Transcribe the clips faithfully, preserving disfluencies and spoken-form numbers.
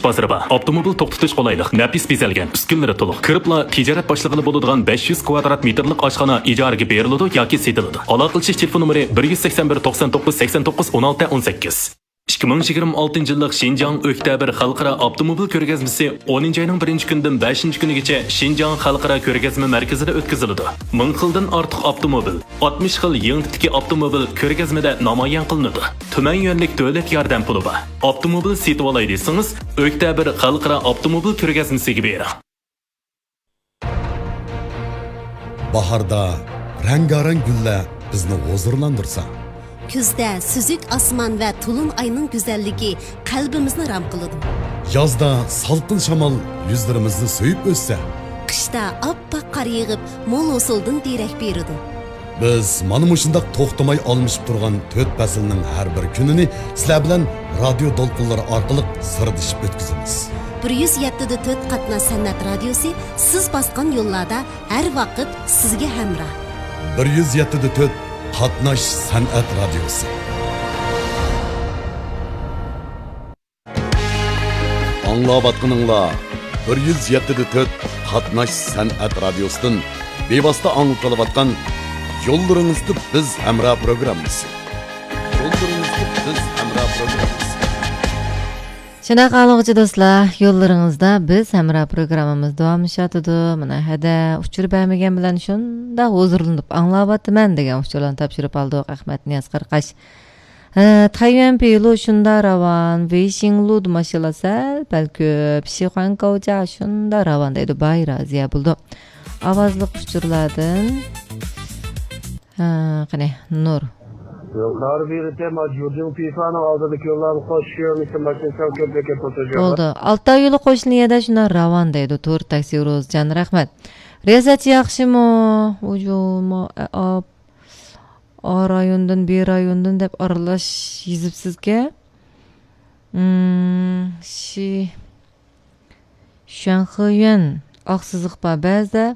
بازىرى بار. ئاپتوموبىل توختىتىش قولايلىق، نەپىس بېزەلگەن، ئۈسكۈنىلىرى تولۇق. كىرىپلا تىجارەت باشلىغىلى بولىدىغان بەش يۈز كۋادرات مېتىرلىق ئاشخانا ئىجارىگە بېرىلىدۇ ياكى سېتىلىدۇ. ئالاقىلىشىش تېلېفون نومۇرى بىر يۈز سەكسەن بىر، توقسان توققۇز، سەكسەن توققۇز، ئون ئالتە، ئون سەككىز. ئىككى مىڭ يىگىرمە ئالتىنچى يىللىق شىنجاڭ ئۆكتەبىر خەلقئارا ئاپتوموبىل كۆرگەزمىسى ئونىنچى ئاينىڭ بىرىنچى كۈنىدىن بەشىنچى كۈنىگىچە شىنجاڭ خەلقئارا كۆرگەزمە مەركىزىدە ئۆتكۈزۈلىدۇ. مىڭ خىلدىن ئارتۇق ئاپتوموبىل، ئاتمىش خىل يېڭى تىپتىكى ئاپتوموبىل كۆرگەزمىدە نامايان قىلىنىدۇ. تۈمەن يۈەنلىك دۆلەت ياردەم پۇلى بار. ئاپتوموبىل سېتىۋالاي دېسىڭىز، ئۆكتەبىر خەلقئارا ئاپتوموبىل كۆرگەزمىسىگە بېرىڭ. باھاردا رەڭگارەڭ گۈللەر بىزنى ھۇزۇرلاندۇرسا، كۈزدە سۈزۈك ئاسمان ۋە تولۇن ئاينىڭ گۈزەللىكى قەلبىمىزنى رام قىلىدۇ. يازدا سالقىن شامال يۈزلىرىمىزنى سۆيۈپ ئۆتسە، قىشتا ئاپئاق قار يېغىپ، مول ھوسۇلدىن دېرەك بېرىدۇ. بىز مانا مۇشۇنداق توختىماي ئالمىشىپ تۇرغان تۆت پەسىلنىڭ ھەر بىر كۈنىنى سىلەر بىلەن رادىيو دولقۇنلىرى ئارقىلىق سىردىشىپ ئۆتكۈزىمىز. بىر يۈز يەتتە دە تۆت قاتناش سەنئەت رادىيوسى سىز باسقان يوللاردا ھەر ۋاقىت سىزگە ھەمراھ. بىر يۈز يەتتە دە تۆت قاتناش سەنئەت رادىيوسى. ئاڭلاۋاتقىنىڭلار بىر يۈز يەتتە دە تۆت قاتناش سەنئەت رادىيوسىدىن بىۋاسىتە ئاڭلىتىلىۋاتقان يوللىرىڭىزدا بىز ھەمراھ پروگراممىسى. يوللىرىڭىزدا بىز ھەمراھ پروگراممىسى. شۇنداق ئاڭلىغۇچى دوستلار، يوللىرىڭىزدا بىز ھەمراھ پروگراممىمىز داۋاملىشىۋاتىدۇ. مانا ھەدە ئۇچۇر بەرمىگەن بىلەن شۇنداق ھۇزۇرلىنىپ ئاڭلاۋاتىمەن دېگەن ئۇچۇرلارنى تاپشۇرۇپ ئالدۇق. ئەخمەت نىياز قاراقاش. ھە، تەييۈەن پېيلۇ شۇندا راۋان، ۋېيشىڭلۇدا ماشىنىلار سەل پەل كۆپ، شىخۇەن كاۋجا شۇندا راۋان دەيدۇ، باي رازىيە بولىدۇ. ئاۋازلىق ئۇچۇرلاردىن. ھە، قېنى، نۇر. يۇقىرى بېرىتى ماجۇدىن پىفانىڭ ئالدىدىكى يوللارنى قوشۇش يۆنىلىشى ماشىنا سەل كۆپلۈككە توسۇلۇشى. بولدى. ئالتاي يولى قوشۇلغان يەردە شۇنداق راۋان دەيدۇ، تور تاكسى روزجان، رەھمەت. رىياسەتچى ياخشىمۇ؟ ئۇجۇمۇ، ئاپ. ئا رايوندىن، بى رايوندىن دەپ ئارىلاش يېزىپسىزكەن. ئىم، شى، شۈەنخېيۈەن، ئاق سىزىق بار بەزىدە.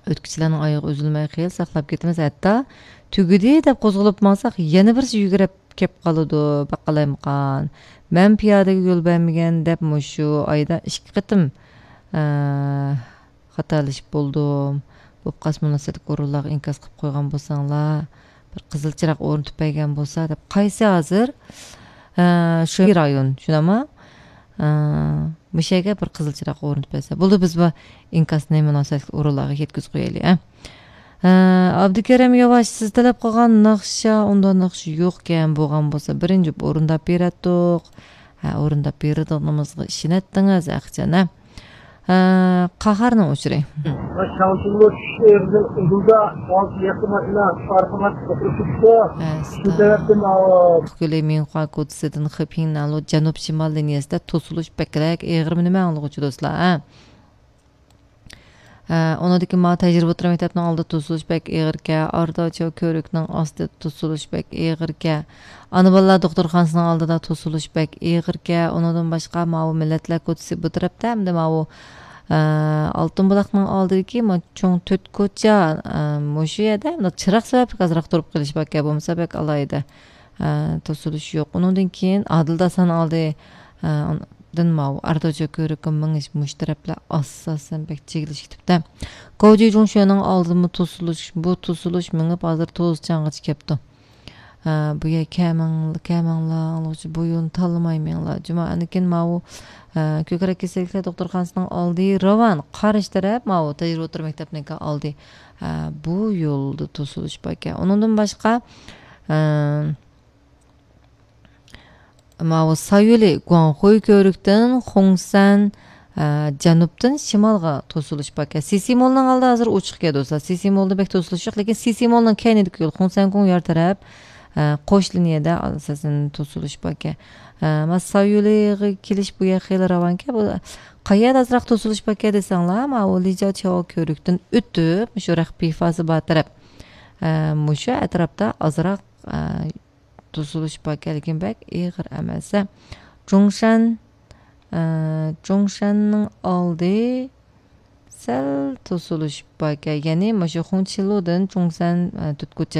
ئۆتكۈچىلەرنىڭ ئايىغى ئۈزۈلمەي خېلى ساقلاپ كېتىمىز. ھەتتا تۈگىدى دەپ قوزغىلىپ ماڭساق، يەنە بىرسى يۈگۈرۈپ كەپ قالىدۇ. باققالايمىقان. مەن پىيادىگە يول بەرمىگەن دەپ مۇشۇ ئايدا ئىككى قېتىم، ئە، خاتالىشىپ بولدۇم. بولۇپ قالسا مۇناسىۋەتلىك ئورۇنلارغا ئىنكاس قىلىپ قويغان بولساڭلار، بىر قىزىل چىراغ ئورنىتىپ بەرگەن بولسا دەپ. قايسى ھازىر؟ ھە، شۇ رايون، شۇنداقمۇ؟ ھە، مۇشۇ يەرگە بىر قىزىل چىراغ ئورنىتىپ بەرسە. بولدى، بىز بۇ ئىنكاسنى مۇناسىۋەتلىك ئورۇنلارغا يەتكۈزۈپ قويايلى، ھە. ھە، ئابدۇكېرىم ياۋاش، سىز تەلەپ قىلغان ناخشا، ئۇنداق ناخشا يوقكەن، بولغان بولسا بىرىنچى ئورۇنداپ بېرەتتۇق. ھە، ئورۇنداپ بېرىدىغىنىمىزغا ئىشىنەتتىڭىز، ئەخچان، ھە؟ ھە، قاھارنىڭ ئۇچۇرى. شاڭشىڭلۇ چۈشۈش ئېغىزىنىڭ ئۇدۇلدا ئالتە يەككە ماشىنا ئارقىماق توقۇنۇشۇپتۇ. شۇ سەۋەبتىن، ئاۋۇ، كۆلى مىڭخۇا كوچىسىدىن خېپىڭنالۇ جەنۇب شىمال لىنىيەسىدە توسۇلۇش بەكرەك ئېغىرمۇ نېمە ئاڭلىغۇچى دوستلار، ھە؟ ھە، ئۇنىڭدىن كېيىن ماۋۇ تەجرىبە ئوتتۇرا مەكتەپنىڭ ئالدىدا توسۇلۇش بەك ئېغىركەن، ئارىداچا كۆۋرۈكنىڭ ئاستىدا توسۇلۇش بەك ئېغىركەن، ئانا بالىلار دوختۇرخانىسىنىڭ ئالدىدا توسۇلۇش بەك ئېغىركەن. ئۇنىڭدىن باشقا ماۋۇ مىللەتلەر كوچىسى بۇ تەرەپتە، ھەمدە ماۋۇ، ئە، ئالتۇن بۇلاقنىڭ ئالدىدىكى ما چوڭ تۆت كوچا، ئە، مۇشۇ يەردە مۇنداق چىراغ سەۋەبلىك ئازراق تۇرۇپ قېلىش باركەن، بولمىسا بەك ئالاھىدە، ئە، توسۇلۇش يوق. ئۇنىڭدىن كېيىن ئادىل داسان ئالدى، ئە، دىن ماۋۇ ئارىداچا كۆۋرۈككە مېڭىش مۇشۇ تەرەپلەر ئاساسەن بەك چىگلىشىپ كېتىپتۇ. كوجى جۇڭشۈنىڭ ئالدىمۇ توسۇلۇش، بۇ توسۇلۇش مېڭىپ ھازىر توزچانغىچە كەپتۇ. ھە، بۇ يەر كەمىڭ-، كەمىڭلار، ئاڭلىغۇچى بۇ يولنى تاللىماي مېڭىڭلار. جۇما، ئاندىن كېيىن ماۋۇ، ھە، كۆكرەك كېسەللىكلەر دوختۇرخانىسىنىڭ ئالدى راۋان، قارشى تەرەپ ماۋۇ تەجرىبە ئوتتۇرا مەكتەپنىڭكى ئالدى. ھە، بۇ يولدا توسۇلۇش باركەن. ئۇنىڭدىن باشقا، ھە، ماۋۇ سايولى گۇاڭخۇي كۆۋرۈكتىن خۇڭسەن، ئە، جەنۇبتىن شىمالغا توسۇلۇش باركەن. سىسىمولنىڭ ئالدى ھازىر ئوچۇقكەن دوستلار. سىسىمولدا بەك توسۇلۇش يوق، لېكىن سىسىمولنىڭ كەينىدىكى يول خۇڭسەن گۇڭ يار تەرەپ، ئە، قوش لىنىيەدە ئاساسەن توسۇلۇش باركەن. ئە، ما سايولىغا كېلىش بۇ يەر خېلى راۋانكەن. بۇ قايەردە ئازراق توسۇلۇش باركەن دېسەڭلار، ماۋۇ لىجاۋ چياۋ كۆۋرۈكتىن ئۆتۈپ، مۇشۇ رەخپىفاسى بار تەرەپ، ئە، مۇشۇ ئەتراپتا ئازراق، ئە، توسۇلۇش باركەن، لېكىن بەك ئېغىر ئەمەس. جۇڭشەن، ئە، جۇڭشەننىڭ ئالدى سەل توسۇلۇش باركەن. يەنى مۇشۇ خۇڭچىلۇدىن جۇڭشەن، ئە، تۆت كوچا